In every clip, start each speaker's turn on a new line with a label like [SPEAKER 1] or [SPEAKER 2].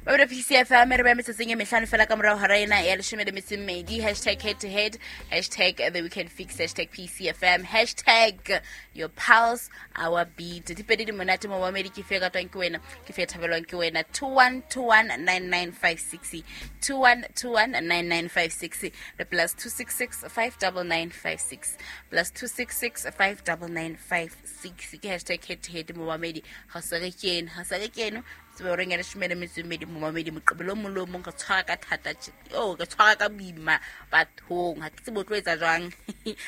[SPEAKER 1] Babele PCFM re ba metsotsong e mehlano fela ka morago hora ena ya leshome le metso e mmedi. Hashtag head to head, hashtag the weekend fix, hashtag PCFM, hashtag your pulse our beat. Di pedi di monate mo mamedi, ke fe ratwang ke wena, ke fe thabelwang ke wena. 21219956, 21219956 le plus 266 59956, plus 266 59956 ke hashtag head to head mo mamedi. Ga se re kene, ga se re kene tsebe goreng ya leshome le metso e mmedi momamedi. Moqebelo o mong le o mong re tshwara ka thata, o re tshwara ka boima bathong, ga ke tsebe o tlo etsa jwang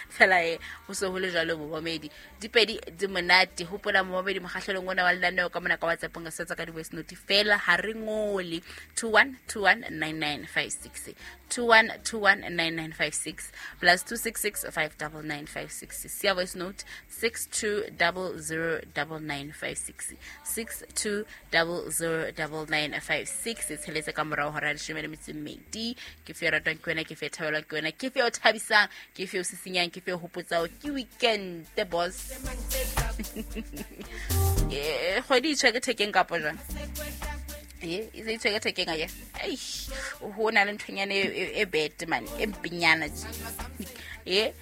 [SPEAKER 1] fela. E go se go le jalo momamedi, dipedi di monate. Gopola momamedi, mokgatlhelong ona wa lenaneo ka mona ka WhatsAppong re setsa ka di-voice note fela, ga re ngole. 21219956, 21219956, plus 266 59956. Sia voice note 62009956, 62009956. E tsheletse ka morago hora ya leshome le metso e mmedi. Ke fe ratwang ke wena, ke fe thabelwang ke wena, ke fe o thabisang, ke fe o sisinyang, ke fe o hopotsao ke weekend boss. Kgwedi e tshwere thekeng kapo jwang? E e se e tshwere thekeng aye. Ho na le nthonyana e bete mane, e mpenyana tje. E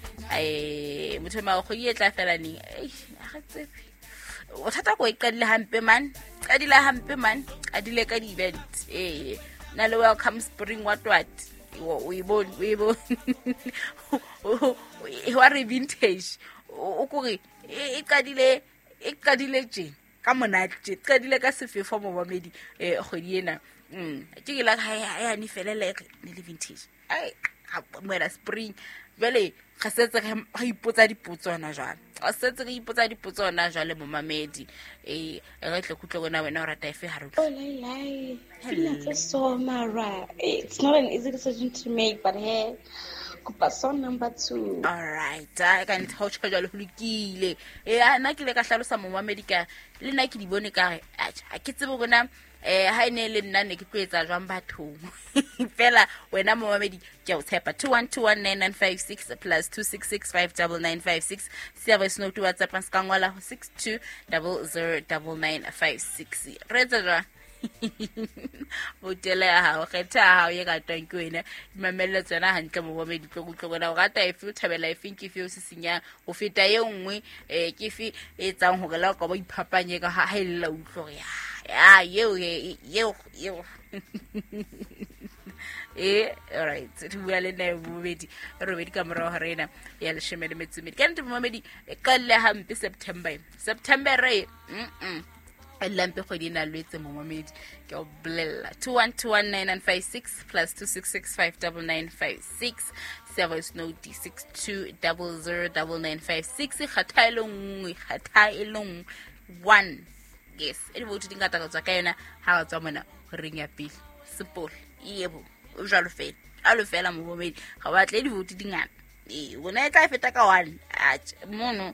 [SPEAKER 1] motho ma kgwedi e tla fela neng? Ga re tsebe. Bothata ko e qadile hampe man, qadile hampe man, qadile ka di-event. Ee, na le welcome spring, what what, o e bone, o e bone wa re vintage. O kore e qadile, e qadile tje ka monate tje, qadile ka sefefo momamedi. Kgwedi ena ke ke la ha ya ne felele ne le vintage. Ai, moela spring jwale re setse re ipotsa dipotso hona jwale, re setse re ipotsa dipotso hona jwale momamedi. Re tle kutlwe bona wena o rata efe ha re
[SPEAKER 2] Oh, lai, lai. Pina tse so mara. It's not an easy decision to make, but hey, kopa song number 2.
[SPEAKER 1] All right, a ka ntho o tjho jwale ho lokile. Nna ke ile ka hlalosa momamedi ka le nna ke di bone ka re atjha, ha ke tsebe hore na ha e ne le nna ne ke tlo etsa jwang bathong. Fela wena momamedi ke a o tshepa. 21219956 plus 26659956. Sia voice note WhatsApp se ka ngola ho 62009956. Re etsa jwang? Botela ya hao, kgetha ya hao e ratwang ke wena, dimamelle tsona hantle momamedi. Tlo kutlwe bona o rata efe, o thabela efeng, ke efe o sisinyang ho feta e nngwe, ke efe e etsang hore la o ka ba iphapanye ka ha e lla utlwe hore ya eo eo eo. Alright, re bua le nna momamedi, robedi ka morago ga rena ya leshome le metso e mmedi. Ka nnete momamedi, e qalle hampe September, September re e lampe kgwedi e na lwetse momamedi, ke o bolella. 21219956 plus 26659956. Sia voice note 62009956. Kgatha e le nngwe, kgatha e le nngwe, one yes. E diboutu di ngata ka tswa ka yona ha ba tswa mona horeng ya pele sepole yebo, o jwalo fela, jwalo fela momamedi, ga batle diboutu di ngata. Ee, bona e tla feta ka one. Atjhe mono,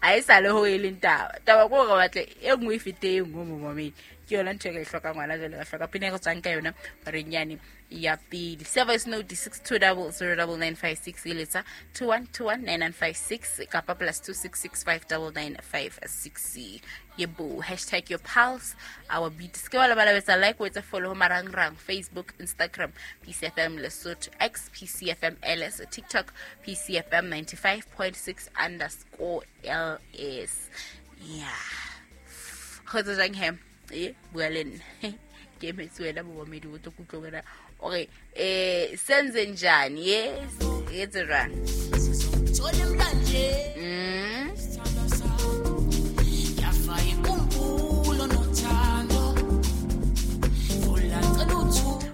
[SPEAKER 1] ha e sa le ho e leng taba, taba ke hore batle e nngwe e fete e nngwe momamedi. Ke yona ntho e re e hlokang ngwana jwale, re hloka pina e re tswang ka yona horeng yane ya pele. Sia voice note 62009956, e letsa 21219956 kapa plus 26659956. Yebo, hashtag your pulse our beat. Se ke wa lebala etsa like, o etsa follow ho marangrang: Facebook, Instagram PCFM Lesotho, X PCFM LS, TikTok PCFM 95.6 underscore LS. Yeah, kgotsa jang he? E bua le nna, ke emetse wena momamedi, o tlo kutlwe wena ore senze njani. Yes, etse jwang?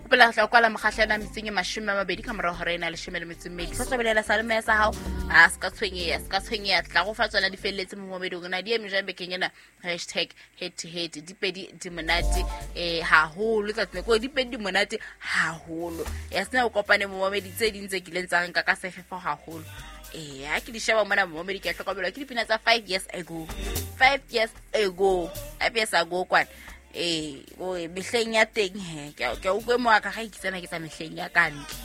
[SPEAKER 1] Hopola tla kwala mokgahlelo metseng e 20 ka morago hora ena leshome le metso e mmedi. Sa tlobelela sa lemeya sa hao, a se ka tshwenyeha, se ka tshwenyeha, tla go fa tsona di felletse momamedi. Hore na di eme jwang bekeng ena? Hashtag head to head. Dipedi di monate haholo tsatsing ko, dipedi di monate haholo ya sena o kopane momamedi. Tse ding tse kileng tsa renka ka sefefo haholo, ha ke di sheba mona momamedi, ke a hlokomelwa ke dipina tsa 5 years ago, 5 years ago, 5 years ago kwana. O mehleng ya teng he, ke a utlwe mo ka ga ikitsana ke tsa mehleng ya ka ntle.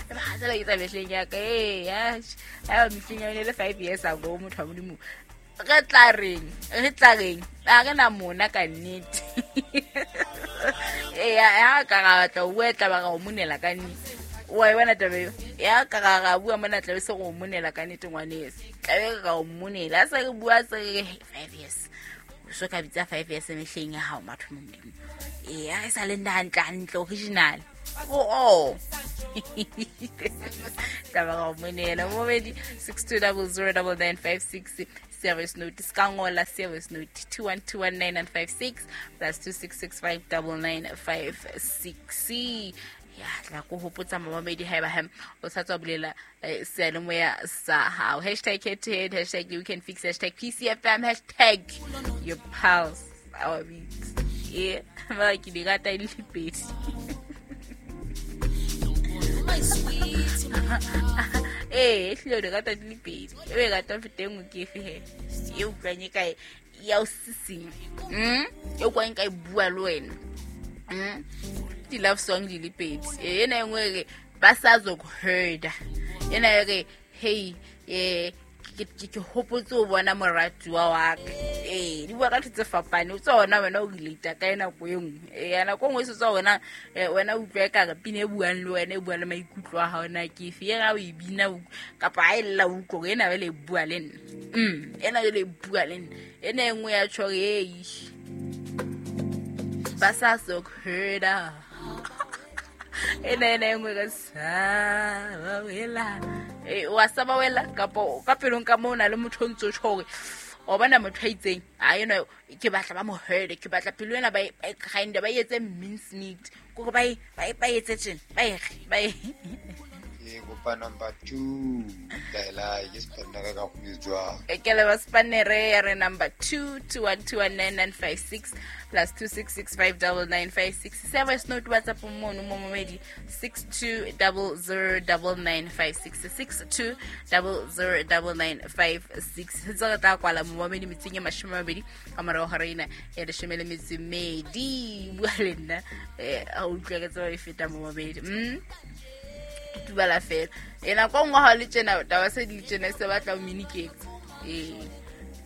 [SPEAKER 1] Ba tsela ke tsa mehleng ya ka. Ya mehleng ya yone le 5 years ago, motho wa Modimo. Re tla reng, re tla reng, a re na mona ka nnete. Ee, ha ka ra batla ho bua, tla ba ra o monela ka nnete. Wa e bona taba eo? Ya ka ra ra bua mona, tlabe se re o monela ka nnete, ngwaneso. Tlabe re ra o monela. Ha se re bua, se re re 5 years. O so ka bitsa 5 years mehleng ya hao, matho Modimo. Ee, ha e sa le nna hantle hantle original. Oh. Taba ra o monela. Momedi 62009956 service note. Ska ngola service note 2121956 plus 26659956. Ya tla ko hopotsa mamamedi haeba hem o sa tswa bulela seyalemoya sa hao. Hashtag head to head, hashtag you can fix, hashtag PCFM, hashtag your pulse our beats. E ba ke di rata e le pedi. Ee, ehlile o di rata di le pedi. E o e rata ho feta e nngwe ke efe he? E utlwang e kae ya o sisinya? E utlwang e ka e bua le wena? Di-love song di le pedi. Ee, ena e nngwe e re ba sa zokuherda. Ena e re hey, ke hopotse ho bona moratuwa wa ka. Ee, di bua ka ntho tse fapaneng. O tswa ona wena o relate ka nako e nngwe. Ee, nako e nngwe e se tswa wena, wena o utlwa ekare pina e buang le wena, e bua le maikutlo a hao na ke efe. E ra o e bina kapa ha e lla o utlwa hore ena jwale e bua le nna. Ena jwale e bua le nna. Ena e nngwe ya tjho hore, ei, ba sa sokuherda. Ena ena e nngwe ka sa wela. Wa saba wela kapa ka pelong ka moo o na le motho o ntso tjho hore o bona motho a itseng, a eno ke batla ba mo herde, ke batla pelo ena ba e grind, ba etse mince meat, kore ba e, ba e, ba etse tjena, ba e re, ba e.
[SPEAKER 3] Ke kopa number 2, Laela, ke spanere ka go jwang?
[SPEAKER 1] E ke leba spanere ya re number 2, 21219956 plus 26659956. Se voice note WhatsApp mono mo momedi 62009956, 62009956. Tse re tla kwala mo momedi metsing e mashome a mabedi ka morago ga reina ya leshome le metso e mmedi. Bua le nna, a utlwa ke tseba e feta mo momedi. Tutubala fela. E nako nngwe ha o le tjena, taba se di le tjena, se batla o miniketse. Ee,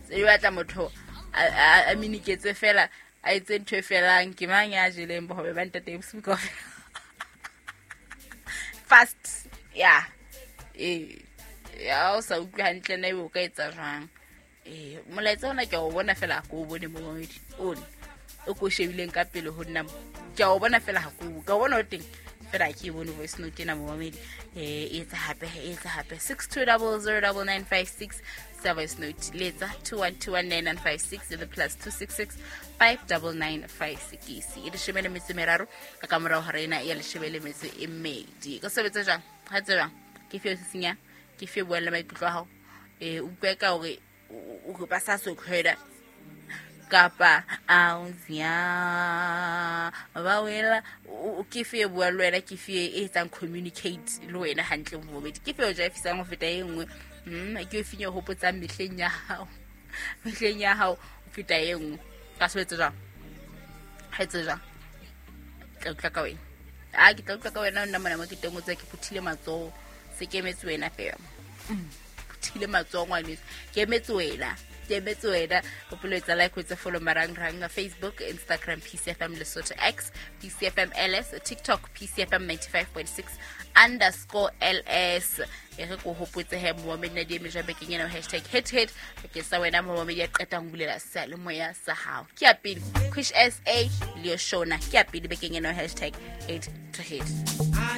[SPEAKER 1] se batla motho a miniketse fela, a etse ntho e felang. Ke mang ya jeleng bohobe ba ntate bosiu kaofela? Fast, ya. Ee, ya o sa utlwe hantle na ebe o ka etsa jwang? Ee, molaetsa ona ke a o bona fela, ha ke o bone momamedi. One o ko shebileng ka pele ho nna mo. Ke a o bona fela, ha ke o, ke a o bona o teng. Fela ha ke e bone voice note ena momamedi. E etsa hape, e etsa hape. 62009956 sa voice note. Letsa 21219956 le plus 2665995 6. E leshome le metso e meraro ka ka morao hora ena ya leshome le metso e mmedi. Ka sebetsa jwang? Ha tsebang. Ke fe o sisinyang? Ke fe buang le maikutlo a hao? Utlwe ka hore o re ba sa sokhwela kapa a o zia ba wela, o ke fe e buang le wena, ke fe e etsang communicate le wena hantle mo bobedi, ke fe o jaifisang ho feta e nngwe. Ke e feng e hopotsang mehleng ya hao, mehleng ya hao ho feta e nngwe. Ka sebetsa jwang? Ha etse jwang? Tla utlwa ka wena. A ke tla utlwa ka wena nna mona mo ke teng, o tse ke phuthile matsoho, se ke emetse wena fela. Phuthile matsoho ngwaneso, ke emetse wena, ke emetse wena. Hopolo etsa like, o etse follow marangrang Facebook, Instagram PCFM Lesotho, X PCFM LS, TikTok PCFM 95.6 underscore LS. E re ko hopotse he momamedi na di eme jwang bekeng ena, hashtag head to head bakeng sa wena momamedi ya qetang ho bulela seyalemoya sa hao. Ke ya pele Quish SA le yo Shona, ke ya pele bekeng ena, hashtag head to head.